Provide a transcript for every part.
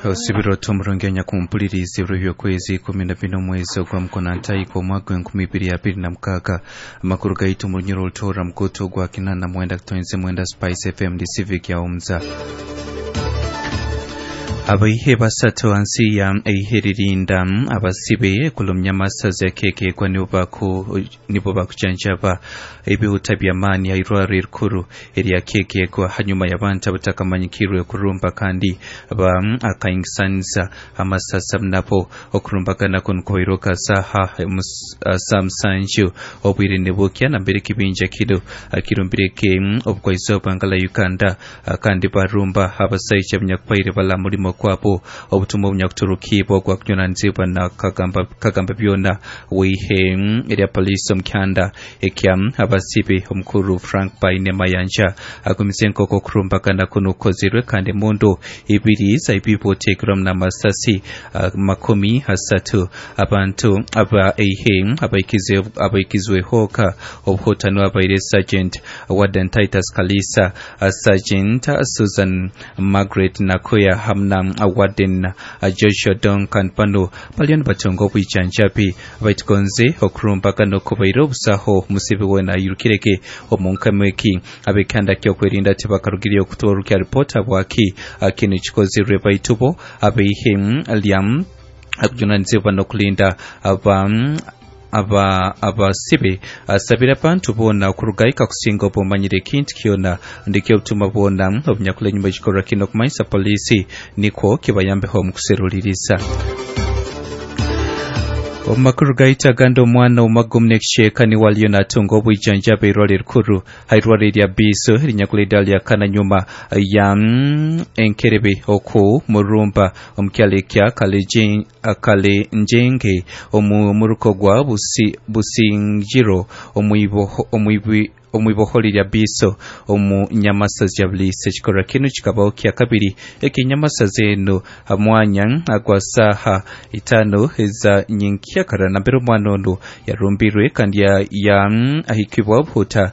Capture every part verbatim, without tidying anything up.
Osibiro tumurungi nyakumpuliriza ebiro by'okwezi ikumi na bina omwezi ogwa mukonantaiko omwaka gw'enkumi ibiri abiri na mukaaga. Amakuru gaitu mu runyoro olutoora mukutu ogwa kinana mwenda kutonze mwenda Spice F M di Civic ya Omza. Abaihe basatu ansi ya eihe ririnda abasibe kulumya masaza keke kwa nibo bakujanjaba ebihuta by'amaani hairwaro erikuru erya keke kwa hanyuma y'abantu abatakamanyikirwe kurumba kandi ba akaingisanza amasasa nabo okurumbagana kuno kuhairoka saha saa musanju obwire nibukya nambere kibinja kino kirumbireke obukwaizoba ngala Uganda kandi barumba abasaija abanyakubaire bala mulimo kwabo obutumwa obunyakuturukibwa ogwa kunyonanzibwa na kagamba, kagamba byona weihe erya polisi omukyanda ekya abasibe omukuru Frank Baine Mayanja agumize nkoko okurumbagana kuno kukozirwe kandi emundu ibiri zaibibotekerwamu n'amasasi uh, makumi asatu abantu aba eihe abaikize abaikizwehoka obuhutano abaire Sergeant Warden Titus Kalisa, Sergeant Susan Margaret Nakoya hamna Warden Joshua Duncan bano baliyo nibatunga obwijanjabi baitugonze okurumbagana okubaire obusaho musibe wena ayirukireke omu nkamo eki ab'ekyanda ky'okwerinda tibakarugire okutorukya ripota bwaki kinu kikozirwe baitubo abaihe lya akujunanizibwa n'okulinda aba aba abasibe asabira abantu bona okurugaika kusinga obumanyire ekintu kyona ndikyo obutuma bwona obunyakula enyuma ekikorwa kino okumanyisa polisi nikwo kibayambeho omu kuseruliriza. Omumakuru gaita agandi omwana omumagumu n'ekicweka niwe aliyo natunga obwijanjabi eirwaro erikuru hairwaro erya Biiso erinyakula eddala lya kana nyuma ya enkerebe oku murumba omukyalo ekya Kalenjenge omu muruko gwa Busingiro omwibi omwiboholi lya Biiso omu nyamasa ya Bulisa. Ekikorwa kinu kikabaho kya kabiri ekinyamasa zenu hamwanya agwa saha itano eza nyenkyakara nambere omwana ono yarumbirwe kandi ya, ya ahikibwa obuhuta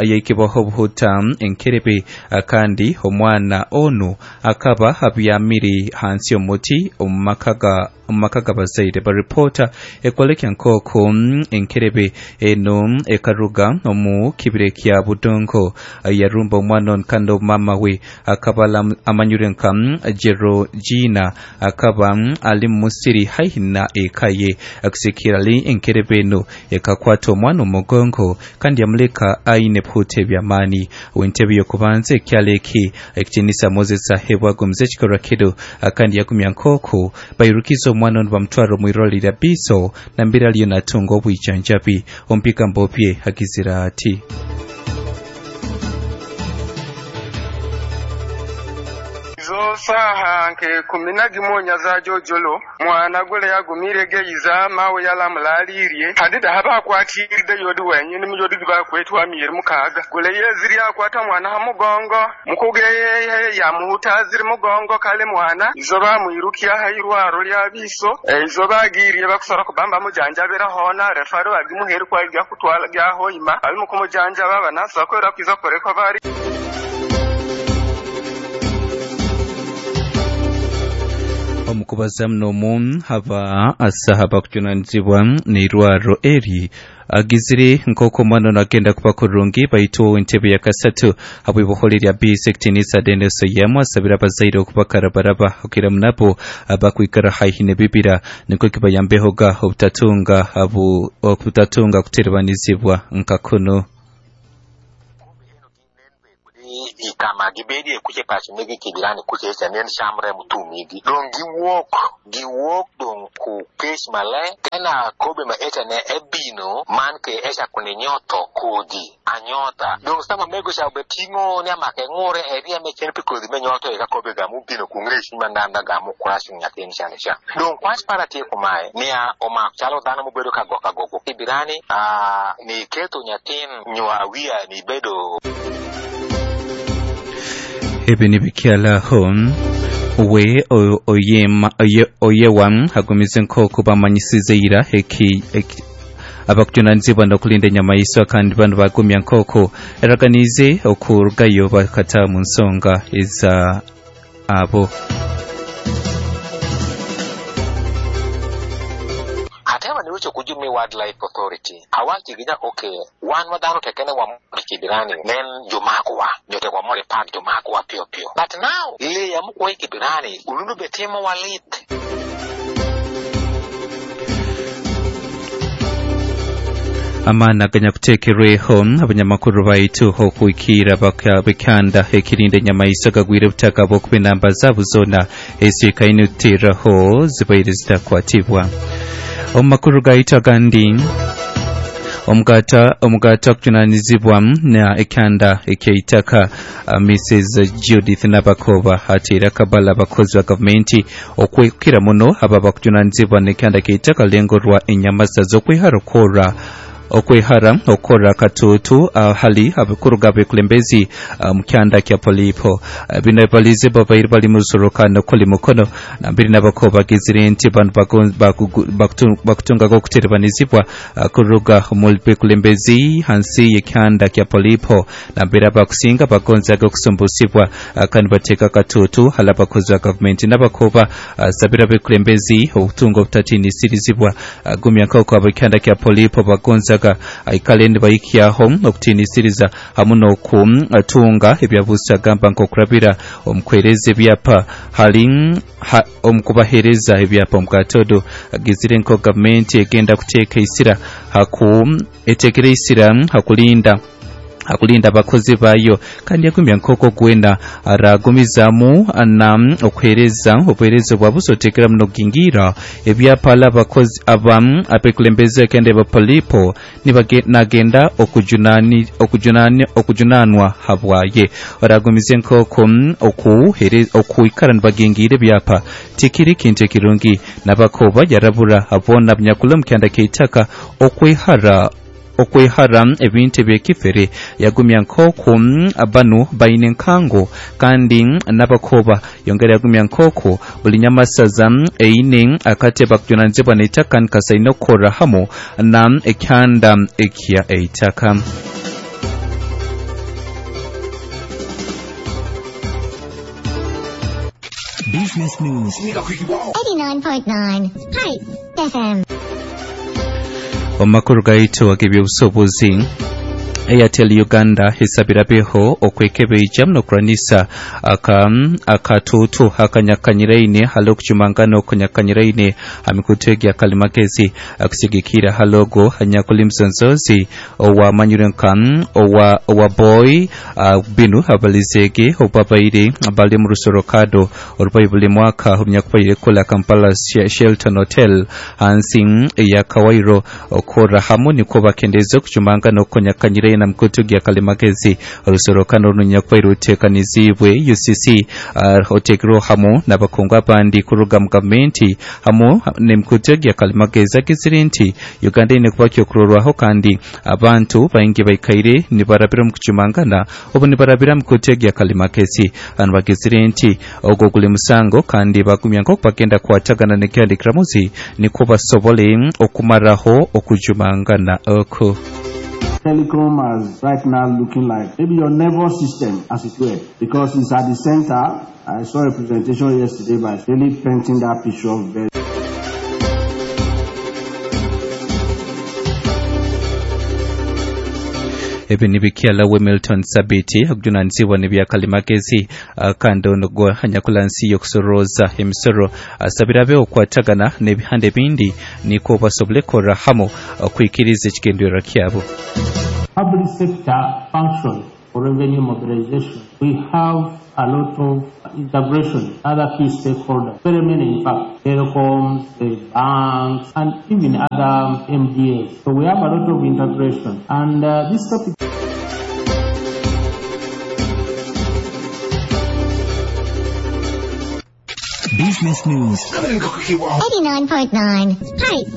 yahikibwaho obuhuta enkerebe kandi omwana ono akaba abyamire hansi omuti omu maka ga omumaka g'abazaire. Baripota ekwoleka nkoko enkerebe eno ekaruga omu kibire kya Budongo yarumba omwana ono kandi omumama we akaba amanyire nka Gerogina akaba ali musiri haihi na eka ye. Akusikira li enkerebe eno ekakwata omwana omugongo kandi yamuleka aine bihute by'amaani. W'entebe y'okubanza ekyalo eki ekitinisa Moses ahebwa agumize ekikorwa kino kandi yagumya nkoko bairukiza omwana ono bamutwara omwirwaro lya Biiso nambere aliyo natunga obwijanjabi. Omubigambo bye agizira ati saha nke kumi na gimonya za jojolo mwana gole yagumire geyiza mawe yalamulalirie hadida haba kwatiride yodi wenyini mujodi bakwetwa miyeri mukaga gole yeziri akwata mwana ha mugongo mukugeye yamuhuta ziri mugongo kale mwana izo bamwirukia hairwaro lya Biiso izo bagiriye bakusora kubamba mujanjabira hona refaro bagimuheri kwa gya kutwala gya hoima ali mukumujanja baba nasa kwera kwiza koreko bari. Omukubaza muno haba asaha bakujunanizibwa n'eirwaro eri agizire nk'oku omwana ono agenda kuba kurungi baitu entebe ya kasatu habw'iboholi lya Biiso ekitinisa Dennis Oyemu asabira abazaire okubakarabaraba okira munabo abakwikara haihi n'ebibira nikwo kibayambehoga obutatunga obutatunga kuterebanizibwa nka kuno. Ikama gibedi kuche pachi megi kibirani kuche cha nen shamre mutumigi don gi wok gi wok don ku kesh male tena kobe ma eta ne ebino man ke esha kune nyoto kodi anyota don sama mego sha betingo ne amake ngore eria me chen pikodi me nyoto e ka kobe ga mu bino ku ngre shima nanda ga mu kurashi nyatin shane sha don kwach para tie kumae ne a oma chalo dano mu bedo ka goka gogo kibirani a ni keto nyatin nywa wia ni bedo. Ebi nibikyalaho we oyema oyewa hagumize nk'oku bamanyisize ira eki abakujunanizibwa n'okulinda enyamaiswa kandi bano bagumya nk'oku eraganize okurugayo bakata mu nsonga eza abo. Arocho kujumi Wildlife Authority awachi ginya okay wan wadhano tekene wa Kibirani nen jomakwa nyote wa more park jomakwa pio pio but now le ya mukwa Kibirani ulundu betimo walit. Amana ganyakutekerweho abanyamakuru baitu okuikira bakanda ekirinda enyamaiso gagwire obutaka bw'okuba enamba zaabo zona ezikaine kuteraho zibaire zitakwatibwa. Omu makuru gaitu agandi, omugata omugata okujunanizibwa na ekyanda ekyeitaka uh, Missus Judith Nabakoba ateera akabala abakozi ba gavumenti okwekira muno aba bakujunanizibwa n'ekyanda kyeitaka lengo rwa enyamasa z'okwehara okora okwehara okora katutu uh, hali abakuru gabekulembezi uh, mukyanda kya Polipo uh, bino balize babaire bali mu rusorokano kuli mukono nambiri nabakoba bagizire nti bantu bakutungaga okuterebanizibwa uh, kuruga mu bekulembezi hansi y'ekyanda kya Polipo nambiri abakusinga bagonzaga okusumbusibwa uh, kandi bateeka katutu hali abakozi ba gavumenti nabakoba uh, sabira bekulembezi obutunga obutatiinisirizibwa uh, gumya nk'oku abekyanda kya Polipo bagonza aikale nibayikyaho okutiinisiriza hamu n'okutunga ebyabusa agamba nk'okurabira omukwereza ebyapa hali omukubahereza ebyapa omukatodo agizire nko gavumenti egenda kuteeka isira haku etekere isira hakulinda akulinda abakozi bayo kandi yagumya nkoko gwena aragumizamu na okuhereza obuhereza bwabusotekera muno gingira ebyapa abakozi abamu abekulembeze kende bapolipo nagenda okujunani okujunani okujunanwa habwaye aragumize nkoko okuhereza okuikara nibagingire ebyapa tikiri kintu ekirungi nabakoba yarabura abona bnyakula mukyanda keitaka okwehara okwehara ebintu ebyekifere yagumya nk'oku banu baine nkango kandi n'abakoba yongera yagumya nk'oku buli nyamasaza eine akateba kujunanizibwa n'eitaka nkasaine okukora hamu na ekyanda ekya eitaka. Business News eighty-nine point nine Spice F M. Omakuru gaitu ag'ebyobusuubuzi, Airtel Uganda esabirabeho okwekebeija n'okuranisa aka akatutu akanyakanyiraine hali okujumangana okunyakanyiraine amikutu egya kalimagezi akusigikira halogo anyakuli msonzozi owamanyire nka owa owa boy uh, binu abalizege obabaire bali mu rusorokado orubayi buli mwaka omunyakubaire kola Kampala Shelton Hotel hansi ya Kawairo okora hamu niko bakendeza okujumangana okunyakanyiraine na mkutu gya kalimagezi orusorokano runyakubaire ruteekanizibwe U C C uh, otekero hamu n'abakungu abandi kuruga mu gavumenti hamu n'emikutu gya kalimagezi agizire nti Uganda ine kuba kyokurorwaho kandi abantu baingi baikaire nibarabira mu kujumangana obu nibarabira mu mikutu gya kalimagezi anu bagizire nti ogwo guli musango kandi bagumya nk'oku bagenda kwatagana n'ekyandikiramuzi niko basobole okumaraho okujumangana oko. Telecom as right now looking like maybe your nervous system, as it were, because it's at the center. I saw a presentation yesterday by really painting that picture very. Ebi nibikyala Milton Sabiti okujunanizibwa n'ebyakalimagezi kandi ono gwa anyakulansi y'okusoroza emisoro asabira okwatagana n'ebihanda ebindi niko basobole kora hamu okwikiriza ekigendererwa kyabo. Public sector function for revenue mobilization, we have a lot of integration, other key stakeholders, very many in fact, telecoms, the banks, and even other M D As. So we have a lot of integration. And uh, this topic. Business News eighty-nine point nine Spice.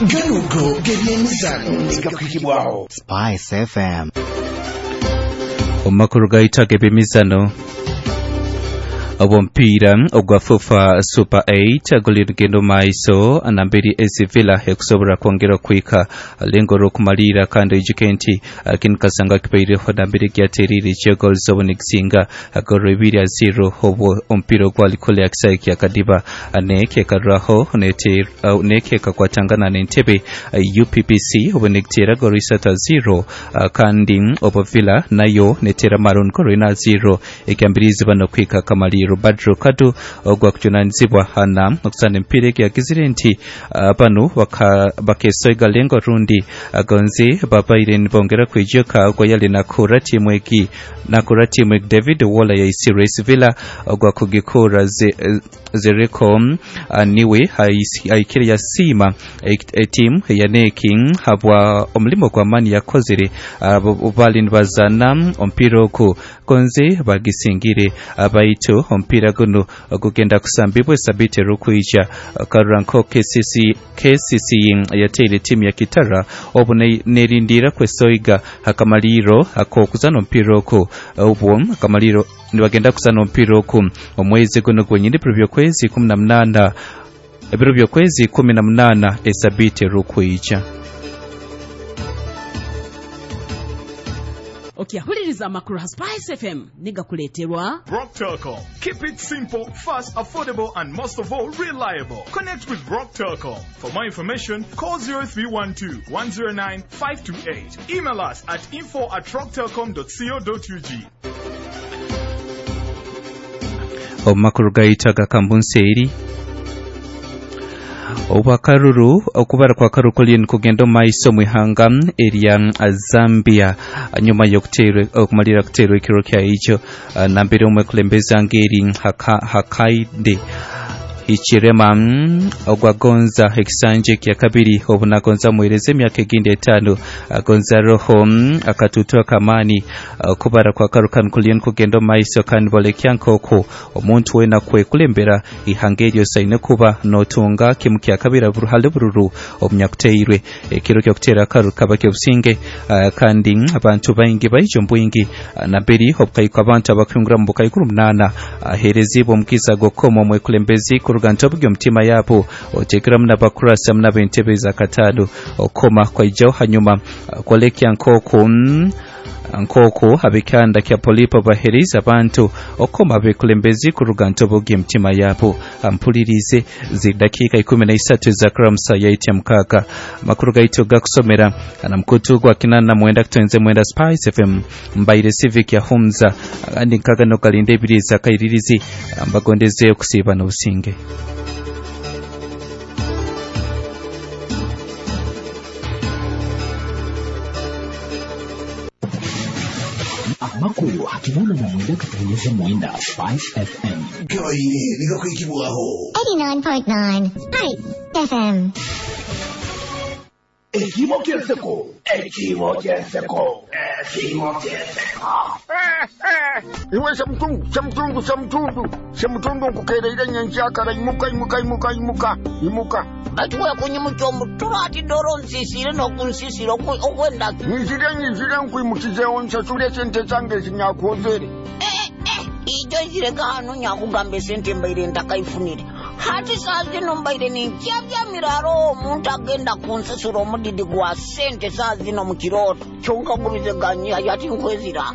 Ganugo gebyemizano Spice F M. Omakuru gaita gebemizano Omupiira ogwa FUFA Super eight guli rugendo maiso namberi S C Villa ekusobola kwongera okwika lengo lw'okumalira, kandi oijuke nti kinu kasanga kibaireho namberi gyaterire eky'egoals obunikisinga golo ibiri a zero obwo omupiira ogwali kule akisaawe kya Kadiba nekekaruraho nekekakwatangana n'entebe U P P C obunikitera golo isatu a zero, kandi obo Villa nayo netera Maroon golo ina zero ekyambirizi bano kwika kamaliro. Badru Kadu ogwa kujunanizibwa hana okusana empira yagizire nti bano bakesoiga lengo rundi gonzi babaire nibongera kwijuka ogwa yali nakura timu egi nakura timu egi David Wola ya Race Villa ogwa kugikura zereko niwe aikire yasima timu ya neki habwa omulimo gwa mani yakozere bali nibazana ompira ogu gonzi bagisingire baitu ompira guno gugenda kusambibwa sabite rukwija karanko K C C K C C yateire timu ya Kitara obu nerindira kwesoiga akamaliro akokuzana ompira oku obwo akamaliro nibagenda kusana ompira oku omwezi guno gwenyini biro kwezi kumi na munana ebiro byokwezi kumi na munana esabite rukwija. Okiyahuliriza amakuru ha Spice F M nigakuleterwa Rock Telcom. Keep it simple, fast, affordable and most of all reliable. Connect with Rock Telcom. For more information, call zero three one two, one zero nine, five two eight. Email us at info at rocktelcom dot co dot U G. Omakuru gaita gakambunseeri Obakaruru okubara kwa karuru kuli nkugenda maiso mwihanga erya Zambia nyuma yokuterwa okumalira kuterwa ekiro kya icho nambere omwe kulembeza ngeri haka, hakaide Ichirema ogwagonza ekisanje kya kabiri obunagonza muhereze emyaka egindi etaano agonza roho akatutua kamani kubara kwa karukan kulien kugenda maiso kandi bolekya nkoko omuntu wena kwekulembera ihanga eryo saine kuba notunga kimu kya kabiri hali bururu omunyakuteirwe ekiro kyokutera karu kaba kyobusinge kandi abantu baingi baijo mbwingi namberi obukaiko abantu abakwingura mu bukaikuru munana aherezibwa omukisa gokoma omwekulembezi kuruga ntobuge omutima yabo otekeramu n'abakurasa n'ab'entebe za katano okoma kwaijaho hanyuma kwolekya nkoko nkoko abikanda kya polipo bahereza abantu okoma abekulembezi kuruga ntobuge emitima yabo ampulirize zidakiika ikumi na isatu za kramsa yaitya mukaka makuru gaitu gakusomera na mkutu gwa kinana mwenda kutenze mwenda Spice F M mbaire civic ya Humza andi nkagano kalinde ebiri za kairirizi mbagondeze okusiiba n'obusinge. Amakuru hakinana na mwenda kutengeneza mwenda Spice F M. Gaire nigakwikibwaho eighty-nine point nine Spice F M. Ekimo kyenseko, ekimo kyenseko, ekimo kyenseko. Iwe semutundu, semutundu, semutundu, semutundu nkukereire nyenkyakala imuka, imuka, imuka, imuka, imuka. Batuwe kunyimuka omutulo ati doro nsisire n'okunsisira okwenda. Nzire nzire nkwimukizeewo nsasule esente zange zinyakwozere. Eh, eh, ijo zireka hano nyakugamba esente mbaire ntakaifunire. Hati saa zino mbaire ninkyabyamira omuntu agenda kunsasula omudidi gwa sente saa zino mu kirooto. Kyonka gubize ganyiha yati nkwezira.